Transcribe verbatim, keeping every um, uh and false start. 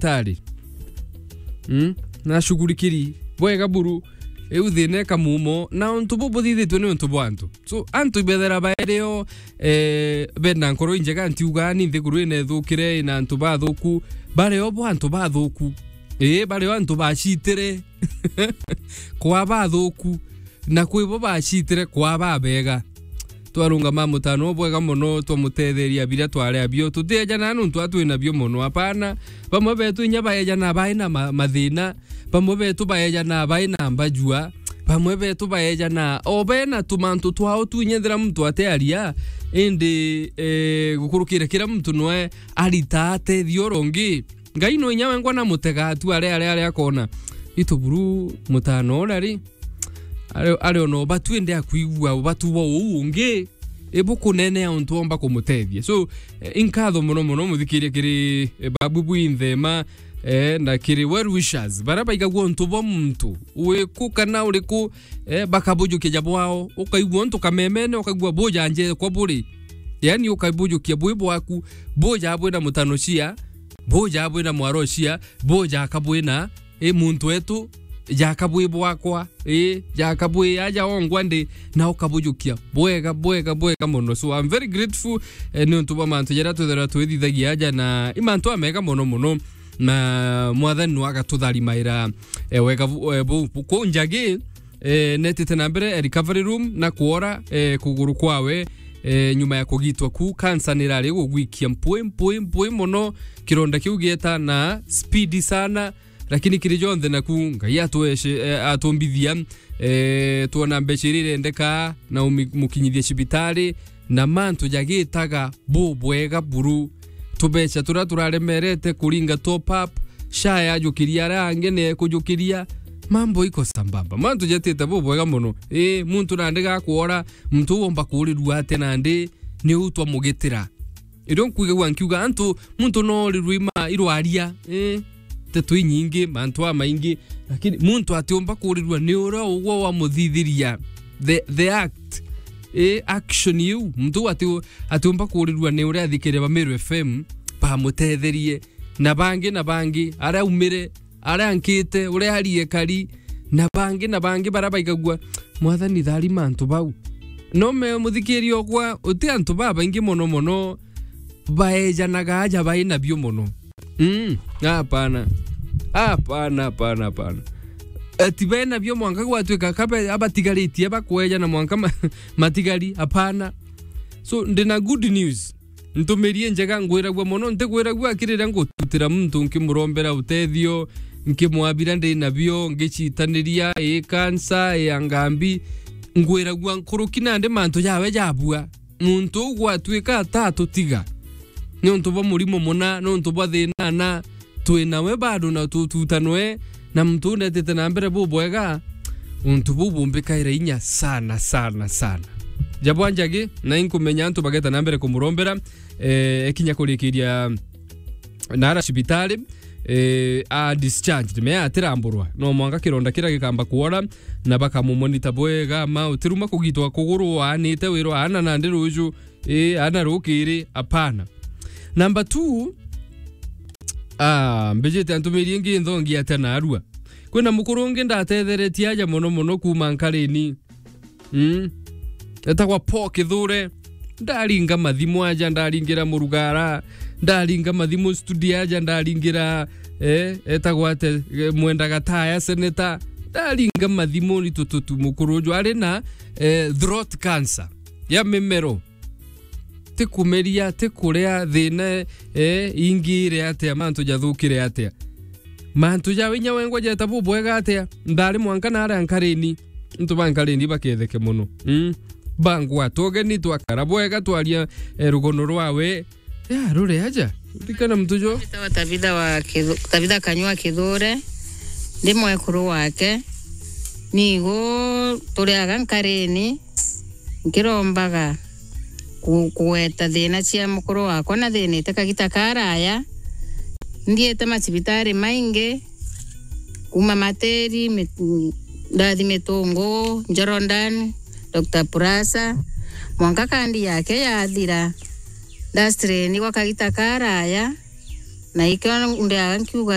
cibitari. Mm? Na shughurikiri bwega buru, iu thina ikamumo, na untu bu buthithitwe ni untu bwa antu. So, antu ibethera baeri o, eh, bena nkoro injega, ntiuga ni nthiguru ina ithukire, ina antu bathuku, bari o bo antu bathuku. Ii, bari o antu bacitire kwa bathuku, na kwi bo bacitire kwa babega. Twarungama mutano bwega mono, twamutetheria biria twari abio. Tutiejana nuntu atwi nabio mono, apana. Bamwe betu inya baejana bai na ma-, mathina, bamwe betu baejana bai na mbajua, bamwe betu baejana o bena tumantu twao tu inya ethira muntu atiaria, indi, eh, gukurukira kira muntu nwe arita atethio uria ungi. Ngai no inya wengwa na mutega atu are, are, are akona. Itu buru mutano uria ri, are, are ona ubatu ende akwigua ubatu bwa uu ungi, ibukunenea untu omba kumutethia. So, eh, inkatho mono mono muthikirie kiri, eh, Babu Bwinthema, eh, na kiri well wishers, baria baigagua untu bwa muntu, wiku kana uriku, eh, bakabujukia ja bwao, ukaigua untu kamemene, ukaigua bujanje kwa buri. Yani ukabujukia bwi bwaku, buja bwina mutano cia, buja bwina mwaro cia, buja kabwina, i muntu wetu, jaka bwi bwakwa, i, jaka bwi aja ongwa ndi, na ukabujukia. Bwega, bwega, bwega mono. So, I'm very grateful, eh, ni untu bwa mantu jaria twithirwa twithithagia aja, na i mantu amega mono mono, na Mwathani no agatutharimaira, eh, wega bu-, eh, bu-, bu-, kuu njagi, eh, netite na mbere, eh, recovery room na kuora, eh, kuguru kwawe, eh, nyuma ya kugitwa ku, cancer nirari gugwikia mpwi, mpwi, mpwi mono, kironda kiu gieta na speed sana, lakini kiri jonthe naku, Ngai atwece-, eh, atumbithia, eh, twona mbeca iria irendeka na umi-, mukinyithie cibitari, na mantu jagitaga bubwega buru. Tubeca turia turaremerete kuringa top up, sha yajukiria aria angi ni ekujukiria, mambo iko sambamba. Mantu jetite bubwega mono. Ii, muntu nandi gakwora, muntu uu omba kuurirua atia nandi, ni uu twamugitira? Irio nkwigagua nkiuga, antu, muntu no orirue ima irwaria, eh, nteto inyingi, mantu amaingi, lakini muntu atiumba kuurirua ni uria ugwe wamuthithiria, the, the act, eh, action iu. Muntu uu ati-, atiumba kuurirua ni uria athikire ba Meru F M bamutetherie, na bangi, na bangi, aria aumire, aria ankite, uria arie kari, na bangi, na bangi baria baigagua, Mwathani, tharima antu bau. No me muthikiria okwa, uti antu babaingi mono mono baejanaga aja bai nabio mono. Mm, hapana. Hapana, hapana, hapana. Ati bai nabio mwanka gwatuika kabe abatigaritie bakwejana mwanka ma-, matigari, hapana. So, ndina good news. Ntumirie njega ngwiragua mono, ntigwiragua akiri riria ngututira muntu nkimurombera utethio, nkimwabira ndi nabio, ngicitaniria, ii kansa, ii angambi, ngwiragua nkuruki nandi mantu jawe jabua. Muntu uu gwatuika atatutiga niuntu bwa murimo muna, niuntu bwa thina na, twi nawe bado na tututanwe, na muntu uu netite na mbere bubwega, untu buu bumbikaira inya sana, sana, sana. Jabwa njagi, na inkumenya antu bageta na mbere kumurombera, eh, ekinya kurikiria nara cibitari, eh, a discharged, me atiramburwa. No mwanka kironda kiria gikamba kuora, na bakamumonita bwega, ma utiruma kugitwa kuguru, aanite wirwa aana nandi ruju, Ii, ana rukiri, apana. Number two, ah, mbijite antumirie ingi nthongi atia narua. Kwina mukuru ungi ndatetheretie aja mono mono kuuma Nkarini. Mm. Etagwa Paul Kithure. Ndaringa mathimu aja, ndaringira Murugara, ndaringa mathimu studio aja, ndaringira, eh, etagwa ate, eh, Mwenda Gataya, senator. Ndaringa mathimu ni tututu mukuru uju ari na, eh, throat cancer ya mimero. Ti kumeria, ti kuria, thina, eh, ingire atia, mantu jathukire atia? Mantu jawe inya wengwa jeta bubwega atia? Ndari mwanka naria Nkarini. Ntu ba Nkarini baketheke mono. Mm. Bangwa tugeni twakara bwega twaria, eh, rugono rwawe. Ya, rure aja. Ndikana muntu jo. Mbitawa Tabitha wa Kithu-, Tabitha Kanyua Kithure. Ndi mwekuru wake. Nigu turiaga Nkarini. Nkirombaga ku-, kugweta thina cia mukuru wakwa na thinite kagita karaya. Nthiite macibitari maingi, kuma Matiri, Mit-, ndathi Mitungu, Njorodan, Doctor Purasa, mwanka kandi yake yathira. Ndastreni gwa kagita karaya, Na ikio ndeaga nkiuga,